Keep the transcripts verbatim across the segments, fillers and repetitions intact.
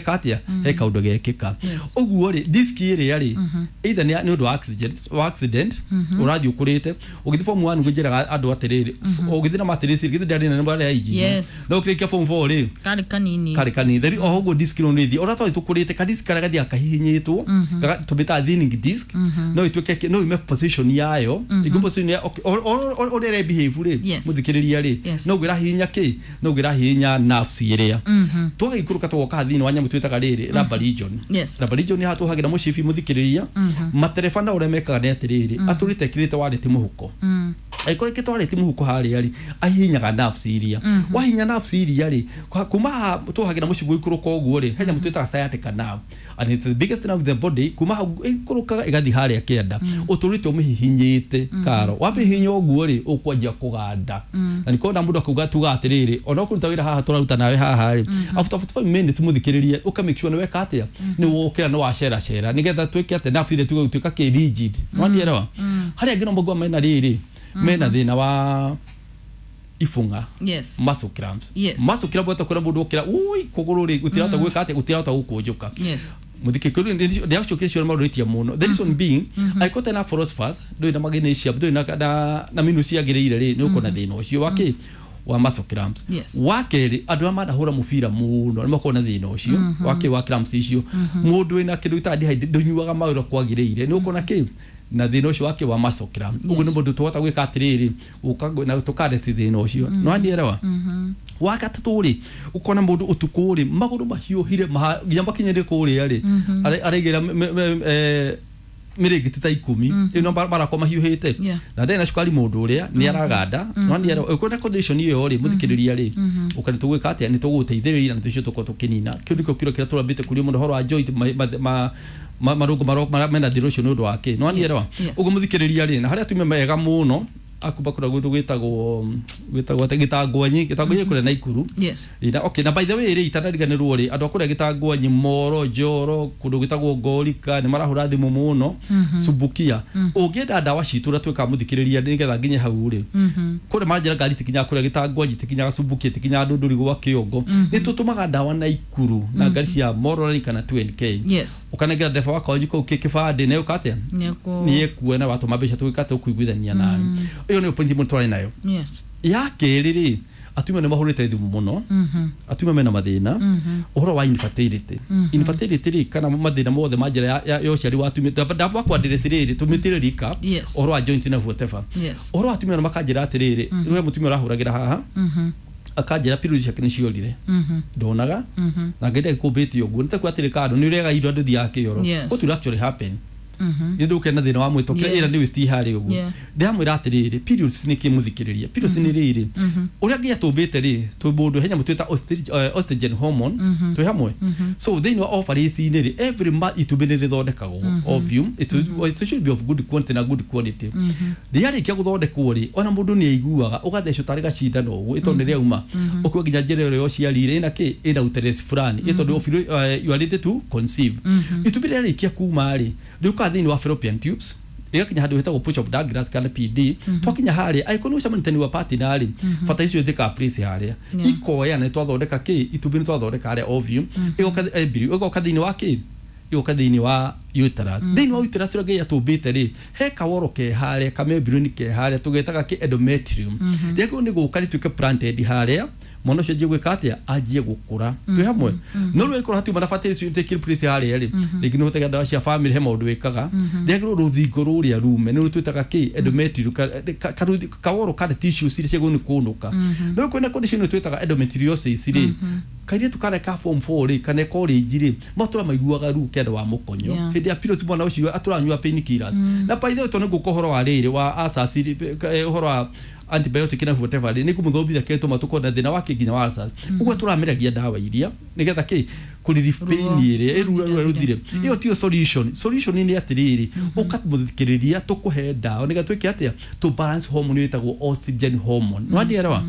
weka atia he kaundu gekika uguo ri disk ĩrĩa rĩ either nĩ nĩ ũndũ wa accident wa accident ũrathiĩ ũkũrĩte ũgĩthiĩ form one ngwĩnjĩraga andũ atĩrĩrĩ ũgĩthiĩ na matirĩci gĩthiĩ ndĩarĩ nene marĩa injinia Yes. no ũkĩrĩkia form four rĩ Karĩ kanini. karĩ kanini theri oho ũguo disk ĩno nĩ ĩthiĩ ũrĩa twathiĩ tũkũrĩte ka disk karĩa gathiaga kahihinyĩtwo gaga- tũmĩtaga thinning disk no ĩtuĩke no yume position yayo ĩngĩ position ya okay, o- o- o- ũrĩa ĩre behave rĩ Yes. mũthikĩrĩria rĩ Yes. no ĩrahihinya kĩ no ĩrahihinya nerves ĩrĩa twagĩikũrũka tũgoka thĩinĩ wa nyamũ twĩtaga rĩrĩ lumbar region Yes. lumbar region haha tũhagĩra mũcibi mũthikĩrĩria matereba na ũrĩa mekaga nĩ atĩrĩrĩ atũrĩte ekĩrĩte warĩti mũhuko angĩkorwo ĩkĩrĩte warĩti mũhuko harĩa rĩ ahihinyaga nerves iria wahihinya nerves iria rĩ kwa- kuma haha tũhagĩra mũcibi ũikũrũka ũguo rĩ he nyamũ twĩtaga sciatica nerve and it's the biggest nerve in the body kuma hau ĩikũrũkaga ĩgathiĩ harĩa kĩanda ũtũrĩte ũmĩhihinyĩte karo wamĩhihinya ũguo rĩ ũkwanjia kũganda na nĩkona mũndũ akauga tuga atĩrĩrĩ ona ũkũruta wĩra haha tũraruta nawe haha rĩ after forty-five minutes mũthikĩrĩrie ũka make sure nĩ weka atĩa nĩ wokĩra nĩ waceracera nĩgetha twĩke atĩa nerve iria tuge gũtuĩka kĩ rigid nĩwanielewa harĩa angĩ no maigua mena rĩrĩ mena thĩna wa ibũng'a Yes. muscle cramps Yes. muscle cramp weta kwĩra mũndũ ũkĩra ui kũgũrũ rĩ gũtirahota gwĩka atĩa gũtirahota gũkũnjũka Yes. mũthikĩrĩria ndĩracokia ciũria maũndũ mũno the reason being angĩkorwo ũtarĩ na phosphorus ndũrĩ na magnesium ndũrĩ na na na minerals ciagĩrĩire rĩ nĩ ũkuona thĩna ũcio wa kĩ wa muscle cramps Yes. wa kerĩ andũ arĩa manahũra mũbira mũno nĩ makoragwo na thĩna ũcio wa kĩ wa cramps icio mũndũ wĩna kĩndũ gĩtaga dehydrate ndũnyuaga maĩ ũrĩa kwagĩrĩire nĩ ũkuona kĩ na thĩna ũcio wa kĩ wa muscle cramp ũguo nĩ mũndũ tũhota gwĩka atĩrĩrĩ ũka na tũkareci thĩna ũcio nĩ wanielewa wa gatatũ rĩ ũkona mũndũ ũtukũ rĩ magũrũ mahiũhire maha- nginya makinyĩre kũrĩa rĩ are- araigĩra me- me- eh, mĩrĩngĩti ta ikũmi ĩno marakwa mahiũhĩte Yeah. na ndarĩ na cukari mũndũ ũrĩa nĩ araganda nĩ ũkwenda condition ĩyo rĩ mũthikĩrĩria rĩ ũka nĩ tũgwĩka atĩa nĩ tũgũgũteithĩrĩria na tũcio tũkorwo tũkĩnina kĩu nĩkĩo kĩro kĩrĩa tũrambĩte kũria mũno ũhoro wa joint ma- ma- ma- ma- marũngo maro- marĩa mena thĩna ũcio nĩ ũndũ wa kĩ nĩ wanielewa Yes. ũguo mũthikĩrĩria rĩ na harĩa atumia mega mũno akumba kũrĩa gwitũ gwĩtagwo gwĩtagwo atĩ gĩtangwanyi gĩtangwanyi kũrĩa Naikuru Yes. Ina, okay, na by the way rĩ itanariganĩrwo rĩ andũ a kũrĩa gĩtangwanyi Moro Njoro kũndũ gwĩtagwo Ngorika nĩ marahũra thimũ mũno Sumbukia ũngĩenda ndawa citũ ũrĩa twĩkaga mũthikĩrĩria nĩgetha nginye hau rĩ kũrĩa manjĩra ngari itikinyaga kũrĩa gĩtangwanyi itikinyaga Sumbukia itikinyaga Ndũndũri gwa Kĩongo nĩ tũtũmaga ndawa Naikuru na ngari cia Moroline kana two N K Yes. ũkanengera ndereba wa kanji kũu kĩbandĩ na ũka atĩa Nĩkũ. nĩ ekuona watũma mbeca tũgĩka atĩa ũkũiguithania nawe ĩyo nĩyo point ĩmwe twarĩ nayo Yes. ya kerĩ rĩ atumia nĩ mahũrĩte thimũ mũno atumia mena mathĩna ũhoro wa infertility infertility rĩ kana mathĩna mothe ma njĩra ya- ya ya ũciari wa atumia ndamba kwandirĩci rĩrĩ tũmĩtire recap Yes. ũhoro wa joint na whatever Yes. ũhoro wa atumia nĩ makanjĩra atĩrĩrĩ rĩu he mũtumia ũrahũragĩra haha akanjĩra period ciake nĩ ciorire ndonaga na ngai ndagĩkũmbĩte ũguo nĩ takuga atĩrĩ kando nĩ ũrĩaga indo andũ thiaga kĩoro Yes. what will actually happen nĩ ndũke na thĩna wa mwĩtũkĩra Yes. ĩra nĩ waste harĩ ũguo Yeah. ndĩramwĩra atĩrĩrĩ periods nĩ kĩ mũthikĩrĩria periods nĩ rĩrĩ ũrĩa ngai atũmbĩte rĩ twĩ mũndũ he nyamũ twĩta oestrogen- eh, estrogen hormone twĩ hamwe so thĩinĩ wa ovaries-inĩ rĩ every month itumbĩ nĩ rĩthondekagwo ovum it, it should be of good quantity na good quality rĩarĩkia gũthondekwo rĩ ona mũndũ nĩ aiguaga ũgathecwo tarĩ gacindano ũguo ĩtondũ nĩ rĩauma ũkua nginya njĩra ĩrĩa ya ũciari rĩ ĩna kĩ ĩna uterus fulani ĩ tondũ uh, you are ready to conceive itumbĩ rĩarĩkia kuma rĩ rĩũkaga thĩinĩ wa fallopian tubes rĩgakinya handũ hetagwo pouch of Douglas kana P D twakinya harĩa angĩkorwo nĩ ũcemanĩtie wa partner rĩ bata icio ithĩkaga place harĩa Yeah. ikoya na nĩ twathondeka kĩ itumbĩ nĩ twathondeka harĩa ovum ĩgoka embryo ĩgoka thĩinĩ wa kĩ ĩgoka thĩinĩ wa uterus thĩinĩ wa uterus ũrĩa Ngai atũmbĩte rĩ he kaworo ke harĩa kamembrane ke harĩa tũgetaga kĩ endometrium rĩagĩrĩirwo nĩ gũka rĩtuĩke planted harĩa mwana ũcio anjie gwĩka atĩa anjie gũkũra twĩ hamwe no rĩu ĩkorwo hatiuma na fertility take place harĩa rĩ rĩngĩ nĩ ũhũthagĩra ndawa cia family he maũndũ wĩkaga rĩagĩrĩirwo rũthingo rũrĩa rume nĩ rũtwĩtaga kĩ endometrium ka- ka- karuthi- kaworo kana tissues iria ciagĩrĩirwo nĩ kũnũka no kwĩna condition ĩno twĩtaga endometriosis rĩ kairĩtu karĩa ka form four rĩ kana college rĩ matũra maiguaga ruo kĩanda wa mũkonyo Yeah. hĩndĩ ya periods mwana ũcio atũranyua painkillers na by the way tondũ nĩngũka ũhoro wa rĩrĩ wa ulcers rĩ, eh, ũhoro wa antibiotic na whatever rĩ nĩngũmũthomithia kĩrĩa tũma tũkorwo na thĩna wake nginya wa ulcers ũguo tũrameragia ndawa iria nĩgetha kĩ kũ relieve pain Ruo. ĩrĩa ĩrura Rũthire. rũthire ĩyo tiyo solution solution nĩ atĩrĩrĩ ũkamũthikĩrĩria tũkũhe ndawa nĩgetha twĩke atĩa tũ balance hormone ĩtagwo estrogen hormone nĩwanielewa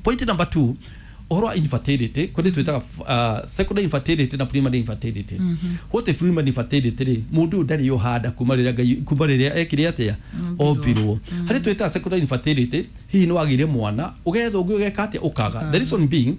point number two ũhoro wa infertility kũrĩ twĩtaga uh, secondary infertility na primary infertility what is primary infertility rĩ mũndũ ũyũ ndarĩ ohanda kuma rĩrĩa Ngai kuma rĩrĩa ekire atĩa ombirwo harĩ twĩtaga secondary infertility hihi nĩ wagĩire mwana ũgetha ũngĩ ũgeka atĩa ũkaga the reason being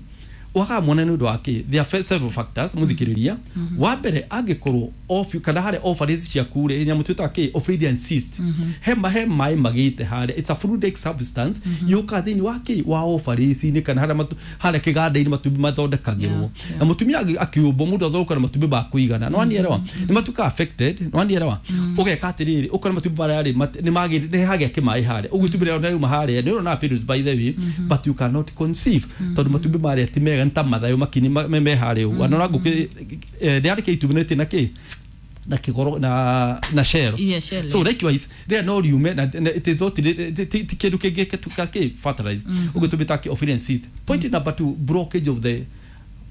Wakaga mwana nĩ ũndũ wa kĩ? There are several factors, mũthikĩrĩria. Wa mbere, angĩkorwo off kana harĩa ovaries ciaku rĩ, nyamũ twĩtaga kĩ, ovarian cyst, he ma he maĩ magĩte harĩa, it's a fluidic substance yũkaga thĩinĩ wa kĩ, wa ovaries-inĩ kana harĩa matu- harĩa kĩganda-inĩ matumbĩ mathondekagĩrwo. Yeah, yeah. Na mũtumia agĩ- akĩũmbwo mũndũ athondekaga na matumbĩ ma kũigana, nĩ wanielewa, nĩ matuĩkaga affected, nĩ wanielewa. Ũgeka atĩrĩrĩ, ũkona matumbĩ marĩa rĩ mat- nĩ magĩ nĩ hagĩa kĩmaĩ harĩa ũguo, itumbĩ rĩao rĩauma harĩa, nĩ ũrona periods by the way, but you cannot conceive tondũ matumbĩ marĩa ti mega, nĩ ta mathayo makini ma- me me harĩa ũguo, ana ngũkĩ rĩarĩkia itumbĩ nĩ na kĩ na kĩgoro na na shell. Yeah, shell, So yes. likewise rĩrĩa no riume na na- it is not ti ti- ti kĩndũ kĩngĩ gĩtuĩka kĩ fertilize, ũguo tũmĩta kĩ, ovarian cyst. Point number two, blockage of the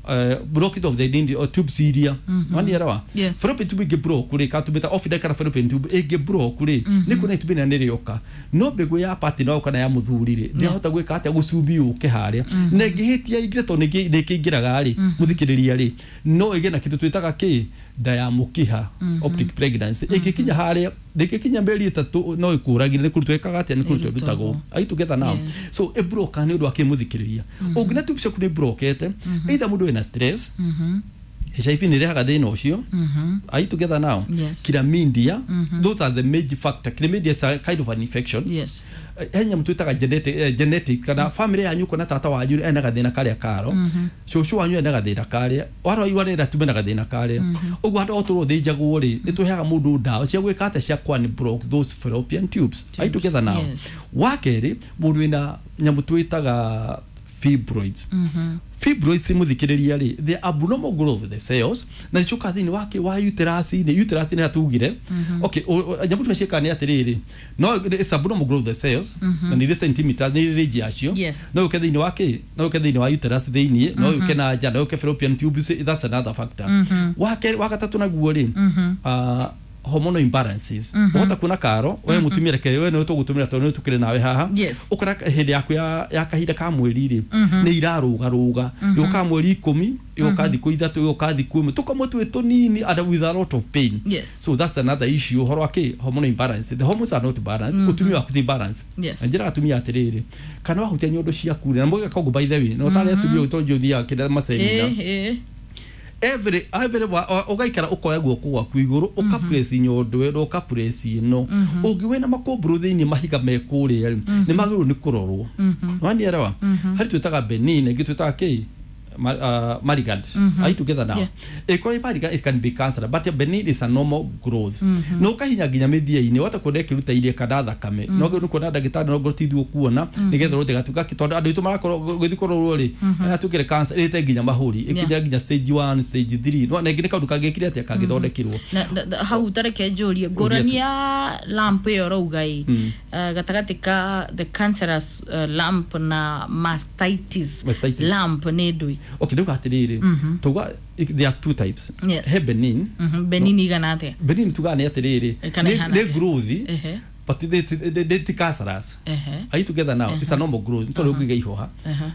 uh, blockage of the nini or tubes iria, wanielewa? Yes. Fallopian tube ĩngĩ block rĩ, ka tũmĩta off kana fallopian tube ĩngĩ block rĩ, nĩ kuona itumbĩ rĩrĩa nĩ rĩoka, no mbegũ ya partner waku kana ya mũthuri rĩ, ndĩahota gwĩka atĩa, gũcumbi yũke harĩa, na ĩngĩhĩtia ingĩre, tondũ nĩ nĩ ĩkĩingĩraga rĩ, mũthikĩrĩria rĩ, no ĩgĩe na kĩndũ twĩtaga kĩ, nda ya mũkiha, optic pregnancy. Ĩngĩkinya harĩa, ndĩngĩkinya mĩeri ĩtatũ, no ĩkũragire. Nĩ kũrutwo ĩkaga atĩa, nĩ kũrutwo ĩrutagwo. Are you together now? Yes. So ĩbroka nĩ ũndũ wa kĩ, mũthikĩrĩria? Ũngĩna tube ciaku nĩ brokete, either mũndũ wĩna stress, H I V nĩ ĩrehaga thĩna ũcio. Are you together now? Yes. Chlamydia, those are the major factor. Chlamydia is a kind of an infection. Yes. He nyamũ twĩtaga genetic, eh, genetic kana family yanyu, kona tata wanyu ena gathĩna karĩa karo, cũcũ wanyu ena gathĩna karĩa, waroi warĩra tume na gathĩna karĩa ũguo. Handũ o tũrwo thĩnjagwo rĩ, nĩ tũheaga mũndũ ndawa cia gwĩka atĩa, cia kwan block those fallopian tubes. Are you together now? Yes. Wa kerĩ, mũndũ wĩna nyamũ twĩtaga fibroids. Fibroids, mũthikĩrĩria rĩ, the abnormal growth of the cells, na nĩcoka thĩinĩ wake wa uterus -inĩ. Uterus nĩ hatugire, okay, o- o- nyamũ tũrĩa ciĩkaga nĩ atĩrĩrĩ, no it's abnormal growth of the cells, na nĩ irĩ centimeters, nĩ irĩ range yacio. Yes. No yũke thĩinĩ wa kĩ, no yũke thĩinĩ wa uterus thĩinĩ, no yũke na nja, no yũke fallopian tubes. That's another factor. Wa kerĩ, wa gatatũ naguo rĩ, ah, hormonal imbalances. Ũhota kuona karo we mũtumia, reke we nĩwe tũgũtũmĩra tondũ nĩwe tũkĩrĩ nawe haha. Yes. Ũkora hĩndĩ yaku ya, ya kahinda ka mweri rĩ, nĩ irarũgarũga, yũka mweri ikũmi, yũka thikũ ithatũ, yũka thikũ ĩmwe, tũkamwe twĩ tũnini and with a lot of pain. Yes. So that's another issue, ũhoro wa kĩ, hormonal imbalance. The hormones are not balanced, ũtumia waku ti balance. Yes. Na njĩraga atumia atĩrĩrĩ, kana wahutia nyondo ciaku rĩ, na mũgeka ũguo by the way, no tarĩ atumia ũyũ tondũ ũthiaga kĩrĩa masemina, Eh, eh. every every wa- wa- ũgaikara ũkoya guoko gwaku igũrũ, ũkapress nyondo ĩno, ũkapress ĩno ũngĩ wĩna makũmbũrũ thĩinĩ, mahiga me kũrĩa rĩ, nĩ magĩrĩirwo nĩ kũrorwo, wanielewa? Harĩ twĩtaga benign, ĩngĩ twĩtaga kĩ, Ma, uh, malignant. Are you together now? Yeah. Ĩkorwo malignant, it can be cancer, but benign is a normal growth. No ũkahinya nginya mĩthia-inĩ, wata kuona ĩkĩruta iria kana thakame, no nĩ kuona ndagĩtarĩ, no ngorwo ti ithuĩ ũkuona, nĩgetha ũrwo tondũ andũ aitũ marakorwo gũthiĩ kũrorwo rĩ, atuĩkĩre cancer ĩrĩte nginya mahũri, ĩkinya nginya stage one, stage three, no na ĩngĩ nĩ kaũndũ kangĩkire atĩa, kangĩthondekirwo. Na na- na- hau tareke njũrie ngũrani ya lump ĩyo ũrauga ĩ, eh, gatagatĩ ka the cancerous eh, lump na mastitis? Mastitis. Lump nĩ ndũĩ? Okay, ndauga atĩrĩrĩ, tuga there are two types. Yes. He benign. Mhm, benign igana atĩa? Benign tugaga nĩ atĩrĩrĩ, Kana nĩ ĩhana nĩ atĩa? growth, Ehe. but they, they, they, ti cancerous. Ehe. Are you together now? It's a normal growth, tondũ ũngĩiga ihũha.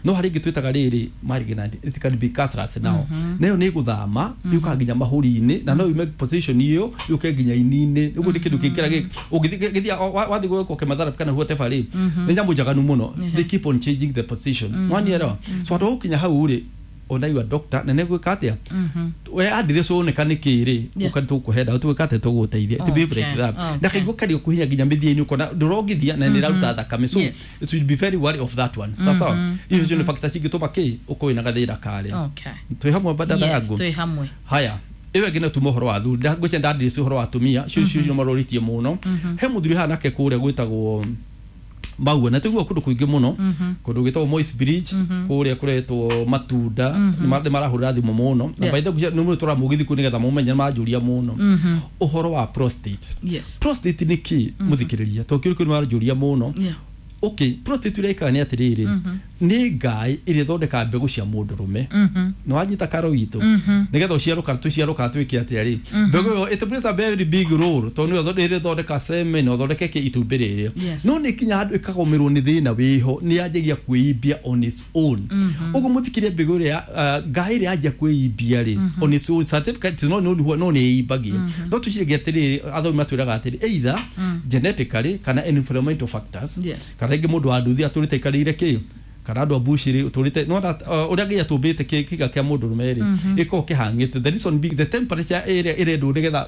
No harĩ ĩngĩ twĩtaga rĩrĩ malignant, it can be cancerous now, nayo nĩ gũthama, yũkaga nginya mahũri-inĩ, na no yume position ĩyo yũke nginya ini-inĩ. Ũguo nĩ kĩndũ kĩngĩra gĩ ũngĩthiĩ gĩthiĩ wathiĩ gwĩkwo chemotherapy kana whatever rĩ, nĩ nyamũ njaganu mũno, they keep on changing the position, wanielewa? So handũ ha gũkinya hau rĩ, ona iwa doctor na nĩ gwĩka atĩa, we address woneka nĩ kĩ rĩ, Yeah. ũka tũkũhe ndawa, tũgwĩka atĩa, tũgũteithia. It be Okay, like that. okay. Na kaigua kario kũhinya nginya mĩthia-inĩ, ũkona ndũrongithia na nĩ ĩraruta thakame, so Yes. it should be very worry of that one. Sasa icio cio nĩ factors cingĩtũma kĩ, ũkorwo wĩna gathĩna karĩa. Okay. Twĩ hamwe, badada Yes, yangu? twĩ hamwe. Haya, ĩyo ĩngĩ no tuma ũhoro wa athuri, ngwĩcia ndandirĩci ũhoro wa atumia cio cio cio marorĩtie mũno. He mũthuri haha nake kũrĩa gwĩtagwo Maua, na tũiguaga kũndũ kũingĩ mũno, kũndũ gwĩtagwo Moi's Bridge, kũrĩa kũretwo Matunda, nĩ marahũrĩra thimũ mũno na Yeah. by the way nĩ mũndũ tũra mũgithi kũ nĩgetha mũmenye, nĩ manjũria mũno ũhoro wa prostate. Yes. Prostate nĩ kĩ, mũthikĩrĩria? Tondũ kĩu kĩu nĩ maranjũria mũno. Yeah. Okay, prostate ĩrĩa ĩkaga nĩ atĩrĩrĩ, nĩ ngaĩ ĩrĩa ĩthondekaga mbegũ cia mũndũrũme. Nĩ wanyita karo witũ? Nĩgetha ũciaro kana tũciaro kana twĩke atĩa rĩ, mbegũ ĩyo it plays a very big role, tondũ nĩyo ĩrĩa ĩthondeka semen na ĩthondeke kĩ, itumbĩ rĩrĩa. Yes. No nĩ kinya handũ ĩkagũmĩrwo nĩ thĩna wĩho, nĩ yanjagia kwĩimbia on its own. Ũguo mũthikĩrie, mbegũ ĩrĩa uh, ngaĩ ĩrĩa yanjia kwĩimbia rĩ on its own certificate, no no no nĩ ĩimbagia. No tũciragia atĩrĩrĩ, athomi matwĩraga atĩrĩ, either genetically kana environmental factors, Yes. kana rĩngĩ mũndũ wa nduthi atũrĩte aikarĩire kĩ, Kana andũ a bushiri ũtũrĩte nĩwona ũrĩa nginya tũmbĩte kĩga kĩa mũndũrũme rĩ gĩkoragwo kĩhang'ĩte. The reason being the temperature ĩrĩa ĩrendwo nĩgetha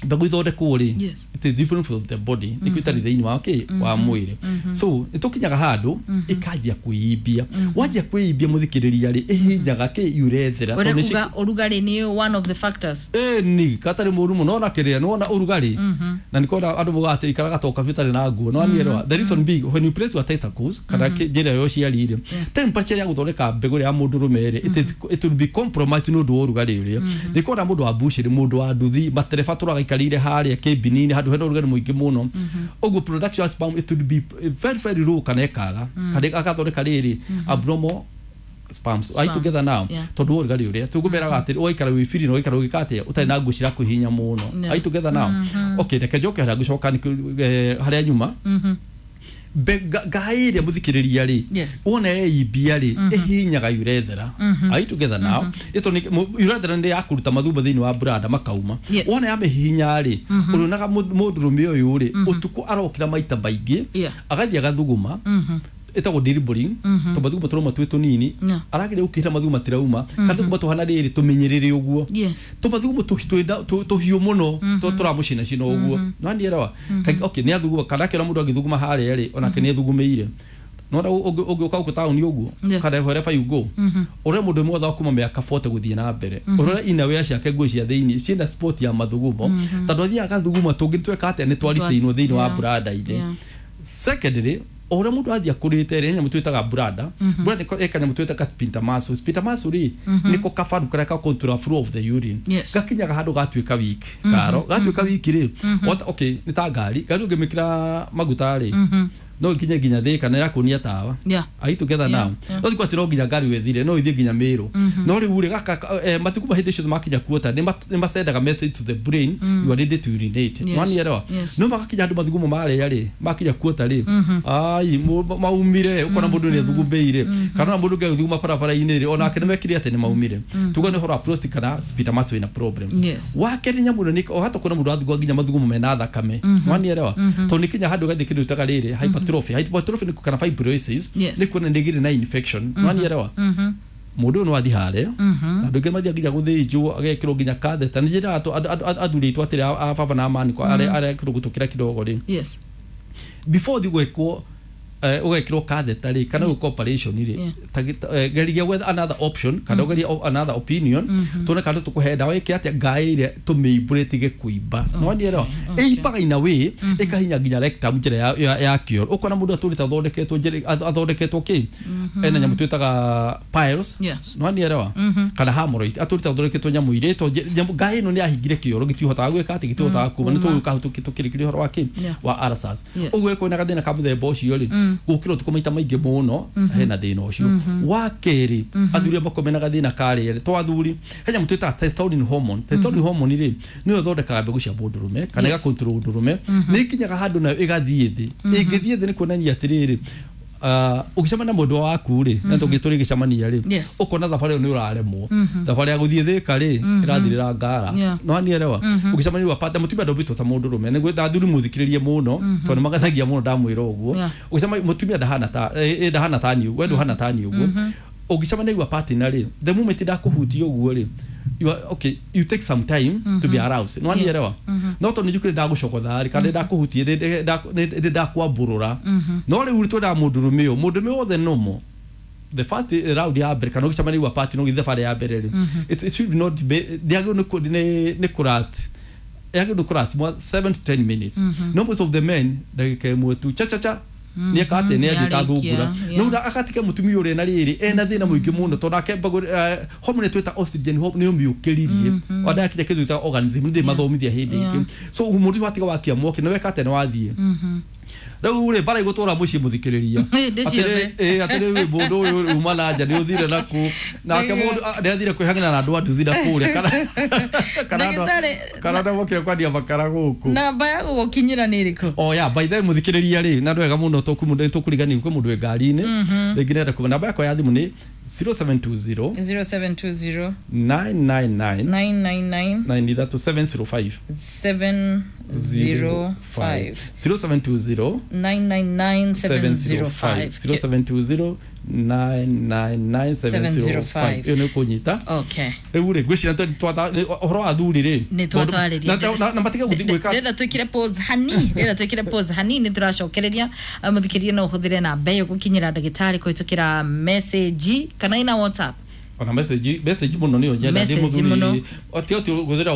mbegũ ithondekwo rĩ, Yes. it is different from the body, nĩkĩo itarĩ thĩinĩ wa kĩ wa mwĩrĩ. So nĩ tũkinyaga handũ ĩkanjia kwĩimbia. Wanjia kwĩimbia, mũthikĩrĩria rĩ, ĩhinyaga kĩ urethra. Ũrĩa kuga ũrugarĩ nĩ one of the factors. Ĩni gatarĩ mũru mũno ona kĩrĩa nĩwona ũrugarĩ na nĩkona andũ mugaga atĩ ikaraga toka biũ ũtarĩ na nguo no nielewa. The reason being, when you place your testicles kana kĩ- njĩra ya ũciari rĩ, temperature ya gũthondeka mbegũ ya mũndũrũme rĩ, it is- it will be compromised nĩ ũndũ wa ũrugarĩ ũrĩa. Nĩkona mũndũ wa bushiri, mũndũ wa nduthi, matereba tũragaikarĩire harĩa kĩmbini-inĩ handũ hena ũrugarĩ mũingĩ mũno ũguo, production ya sperm, it will be very very low kana ĩkaga kana agathondeka rĩrĩ abnormal sperms. Are you together now? Yeah. Tondũ wa ũrugarĩ ũrĩa tũkũmeraga atĩ ũgaikara wĩ free na ũgaikara ũgĩka atĩa ũtarĩ na nguo cirakũhihinya mũno. Yeah. Are you together now? Okay, reke njoke harĩa ngũcoka nĩ- eh, harĩa nyuma. Be- nga- ngai ĩrĩa, mũthikĩrĩria rĩ, Yes. wona yeimbia rĩ, ĩhinyaga urethra. Are you together now? Ĩto nĩ mu- urethra nĩ ya kũruta mathumba thĩinĩ wa brada makauma. Yes. Wona yamĩhihinya rĩ, ũrĩonaga mũ- mũndũrũme ũyũ rĩ, ũtukũ arokĩra maita maingĩ, Yeah. agathiĩ agathuguma, ĩtagwo dribbling, tondũ mathuguma tũrauma twĩ tũnini. Yeah. Arageria gũkĩra mathuguma tirauma, kana thuguma tũhana rĩrĩ tũmenyerere ũguo, Yes. tũmathugumo tũhiũ mũno tũramũcinacina ũguo nanielewa. Okay, nĩ athuguma kana akĩona mũndũ agĩthuguma harĩa rĩ, onake nĩ athugumĩire. Nona ũngĩũka gũkũ taũni ũguo Yeah. kana wherever you go, ũrĩa mũndũ ũmwe wa kuma mĩaka forty gũthiĩ na mbere, ũrĩa inawea ciake, nguo cia thĩinĩ ciĩna spot ya mathugumo, tondũ athiaga agathuguma tũngĩ tweka atĩa nĩ twaritĩinwo thĩinĩ wa Yeah. brada-inĩ. Yeah. Secondly, o ũrĩa mũndũ athiĩ akũrĩte rĩ, he nyamũ twĩtaga brada brada ĩ kanyamũ twĩtaga sphincter muscle. Sphincter muscle rĩ, nĩko kabaru karĩa ka control flow of the urine. Yes. Gakinyaga handũ gatuĩka weak. Karo gatuĩka weak rĩ, what? Okay, nĩ ta ngari. Ngari ũngĩmĩkĩra maguta rĩ, no ikinye nginya Thĩka na yakuonia tawa. Yeah. Are you together Yeah, now? yeah. No tikwa no nginya ngari wethire no ithie nginya Meru, no rĩu rĩ, gaka eh, matukũ ma hĩndĩ ciothe makinya kuota nĩ masendaga message to the brain, you are ready to urinate. Yes. Wanielewa? Yes. No magakinya andũ mathugumo marĩa rĩ, makinya kuota rĩ, ai mu- maumire, ũkona mũndũ nĩ athugumĩire, kana ona mũndũ ũngĩ agĩthuguma barabara-inĩ rĩ, onake nĩ mekire atĩ nĩ maumire. Tuga nĩ ũhoro wa prostate kana sphincter muscle ĩna problem. Yes. Wa kerĩ, nyamũ ĩno nĩ o hata kuona mũndũ athugua nginya mathugumo mena thakame, wanielewa? Tondũ nĩ kinya handũ gathiĩ kĩndũ ĩtaga rĩrĩ hypertrophy hypertrophy nĩ kana fibrosis, Yes. nĩ kuona nĩ gĩrĩ na infection, wanielewa? Mũndũ ũyũ no athiĩ harĩa, andũ aingĩ mathiaga nginya gũthĩnjwo, agekĩrwo nginya catheter. Nĩ njĩraga athuri aitũ atĩrĩ, a baba na amani arĩa arĩa kĩrũgũtũkĩra kidogo rĩ, Yes. before ũthiĩ gwĩkwo eh, ũgekĩrwo catheter rĩ, kana gwĩkwo operation rĩ, Yeah. ta- eh, geria gwetha another option kana ũgerie o- another opinion, tuone kana tũkũhe ndawa ĩke atĩa ngaĩ ĩrĩa tũmĩimbũre ĩtige kũimba, nĩwanielewa? Ĩimbaga in a way ĩkahinya nginya rectum, njĩra ya, ya, ya kĩoro. Ũkona mũndũ atũrĩte athondeketwo njĩra athondeketwo kĩ ena nyamũ twĩtaga piles. Yes. Nĩwanielewa? Kana hemorrhoid, atũrĩte athondeketwo nyamũ irĩtwo nyamũ ngaĩ ĩno nĩ yahingire kĩoro, gĩtihotaga gwĩka atĩ gĩtihotaga kuma. Nĩ tũgũka hau tũkĩrĩkĩria ũhoro wa kĩ Yeah. wa ulcers. Yes. Ũguo ĩkorwo na gathĩna ka mũthemba ũcio rĩ, gũkĩra ũtukũ maita maingĩ mũno, hena thĩna ũcio. Wa kerĩ, athuri amwe mena gathĩna ka rĩrĩ, to athuri, he nyamũ twĩtaga testosterone hormone. Testosterone hormone rĩ, nĩyo ĩthondekaga mbegũ cia mũndũrũme kana Yes. ĩgacontrol ũndũrũme. Nĩ ĩkinyaga handũ nayo ĩgathiĩ thĩ. Ĩngĩthiĩ thĩ nĩ kuonania atĩrĩrĩ, uh, ũgĩcemania na mũndũ waku rĩ, na tũngĩ tũrĩgĩcemania rĩ, Yes. ũkona thabarĩ ĩyo nĩ ũraremwo. Thabarĩ ya gũthiĩ Thĩka rĩ, ĩrathirĩra ngara. Yeah. No anielewa? Ũgĩcemania wa partner, mũtumia ndombĩtwo ta mũndũrũme. Nĩguo athuri mũthikĩrĩrie mũno, tondũ nĩ magathagia mũno ndamwĩra ũguo. Yeah. Ũgĩcemania mũtumia ndahana ta eh, eh, ndahana ta niĩ, we ndũhana ta niĩ ũguo. Ũngĩcemania wa partner rĩ, the moment ndakũhutia ũguo rĩ, you are, okay, you take some time to be aroused, no anielewa? No tondũ nĩ njũkĩre ndagũcogotha rĩ, kana ndakũhutia, nĩ ndakwambũrũra. No rĩu twendaga mũndũrũme ũyũ, mũndũrũme wothe nomo the first round ya mbere kana ũgĩcemania wa partner ũgĩthiĩ thabarĩ ya mbere rĩ, it, it should not be, ndĩagĩrĩirwo nĩ kũ- nĩ nĩ kũlast, yagĩrĩirwo nĩ kũlast more seven to ten minutes. No most of the men, ndagĩka ĩmwe tu, cha cha cha, nĩ eka atĩ nĩ athiĩ tathungura. Nĩarĩkia. No agatiga mũtumia ũrĩa na rĩrĩ ena thĩna mũingĩ mũno, tondũ nake mbegũ hormone twĩta oxygen nĩ ũmĩũkĩririe wandakinya kĩndũ twĩtaga organism. Nĩ mathomithia hĩndĩ Yeah. ĩngĩ. So mũndũ ũcio watiga wakia mwaki nĩ weka atĩ nĩ wathiĩ rĩu rĩ, mbara igũtũra mũciĩ, mũthikĩrĩria. Hĩndĩ ciothe. Atĩrĩ rĩu mũndũ ũyũ uma na nja nĩ ũthire naku nake mũndũ ah, nĩ athire kwĩhang'ana na andũ a nduthi na kũrĩa, kana kana andũ a- Ndagĩtarĩ, kana andũ mokire kwendia makara gũkũ. Namba ya gũgũkinyĩra nĩ ĩrĩkũ? Oh yeah, by the way, mũthikĩrĩria rĩ, na ndwega mũno tũkũriganĩrwo kwĩ mũndũ wĩ ngari-inĩ rĩngĩ nenda kuma. Namba yakwa ya thimũ nĩ zero seven two zero zero seven two zero nine nine nine nine nine nine nine ithatũ seven zero five seven zero five zero seven two zero nine nine nine seven zero five zero seven two zero nine nine nine seven zero five ĩyo nĩ ũkũnyita. Okay. Rĩu rĩ, ngwĩciria twa- twatha- nĩ- ũhoro wa athuri rĩ, nä twatwarä na- na- na matige gũthiĩ gwĩka. Ndĩrenda twĩkĩre pause hani, ndĩrenda twĩkĩre pause hanini, tũracokereria. Mũthikĩria no ũhũthĩre namba ĩyo gũkinyĩra ndagĩtarĩ kũhĩtũkĩra message kana ina WhatsApp. Ona message, message muno niyo nyenda ndi Message muthuri. mũno. Oti oti guthira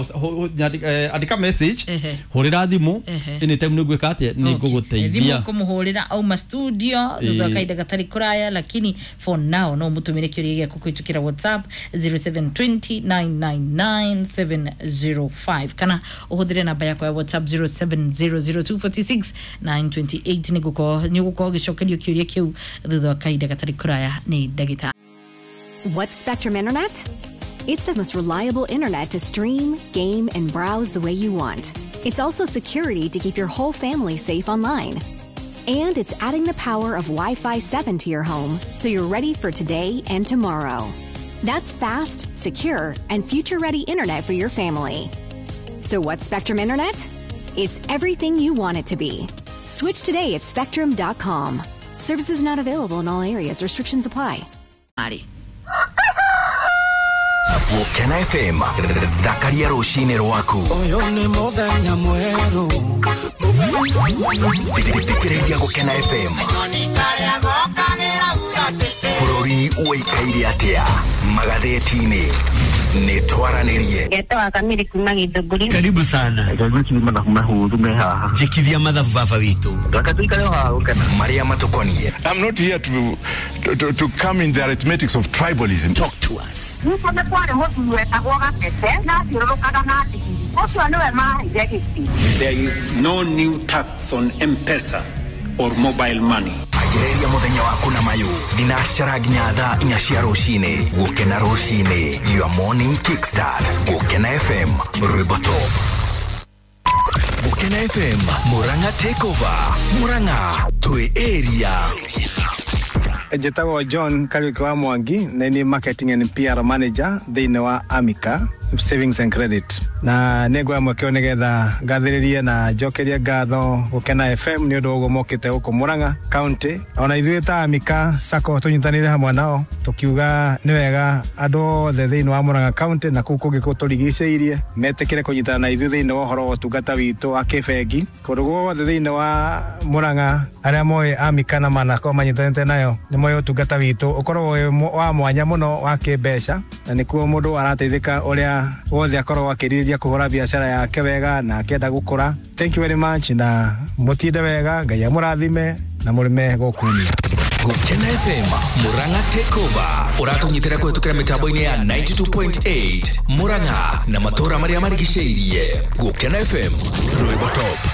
andika message, Ehe. hurira thimu Ehe. anytime nĩ ngwĩka atĩa, nĩ ngũgũteithia. Thimũ kũmũhũrĩra auma studio thutha wa Ĩĩ. kahinda gatarĩ kũraya, lakini for now no mũtũmĩre kĩũria gĩaku kũhĩtũkĩra WhatsApp zero seven two zero nine nine nine seven zero five kana ũhũthĩre namba yakwa ya WhatsApp zero seven zero zero two four six nine two eight. Nĩ gũkorwo gĩcokerio kĩũria kĩu thutha wa kahinda gatarĩ kũraya nĩ ndagĩtarĩ. What's Spectrum Internet? It's the most reliable internet to stream, game, and browse the way you want. It's also security to keep your whole family safe online. And it's adding the power of Wi-Fi seven to your home, so you're ready for today and tomorrow. That's fast, secure, and future-ready internet for your family. So what's Spectrum Internet? It's everything you want it to be. Switch today at spectrum dot com. Services not available in all areas. Restrictions apply. Marĩ Gũkena F M, thakaria rũcinĩ rwaku. Ũyũ nĩ mũthenya mwerũ. Thikĩrĩria Gũkena F M. Bũrũri ũikaire atĩa magathĩti-inĩ? Nĩ twaranĩrie. Ngetwa Kamiri kuma Githũngũri. Karibu sana. Njikithia mathabu baba witũ. Marĩa matũkoniĩ. I'm not here to, to, to, to come in the arithmetics of tribalism. Talk to us. Nĩkuo nĩ kwarĩ mũthuri wetagwo Gatete na athiũrũrũkaga na ndigiri. Ũcio nĩwe maheire gĩtĩ. There is no new tax on M-Pesa or mobile money. Agĩrĩria mũthenya waku na mayũ thinacara nginya thaa inya cia rũcinĩ. Gũkena rũcinĩ, your morning kickstart. Gũkena F M, rwĩmbo top. Gũkena F M, Murang'a takeover. Murang'a twĩ area. Njĩtagwo John Kariuki wa Mwangi, na nĩ marketing and P R manager thĩinĩ wa Amica Savings and Credit. Na nĩ nguoya mweke ũyũ nĩgetha ngathĩrĩrie na njokerie ngatho Gũkena F M nĩ ũndũ wa ũguo mokĩte gũkũ Murang'a County. Ona ithuĩ ta Amica Sacco tũnyitanĩire hamwe nao tũkiuga nĩ wega andũ othe thĩinĩ wa Murang'a County na kũu kũngĩ kũtũrigicĩirie metĩkĩre kũnyitana na ithuĩ thĩinĩ wa ũhoro wa ũtungata witũ wa kĩbengi. Kũndũ guothe thĩinĩ wa Murang'a arĩa moĩ Amica na manakorwo manyitanĩte nayo nĩ moĩ ũtungata witũ ũkoragwo wĩ wa mwanya mũno wa kĩmbeca, na nĩkuo mũndũ arateithĩka ũrĩa wothe akorwo akĩrirĩria kũhũra biacara yake wega na akĩenda gũkũra. Thank you very much, na mũtinde wega, Ngai amũrathime na mũrĩme gũkũ. Gũkena F M, Murang'a takeover. Ũratũnyitĩra kũhĩtũkĩra mĩtambo-inĩ ya ninety-two point eight Murang'a na matũũra marĩa marigicĩirie. Gũkena F M, rwĩmbo top.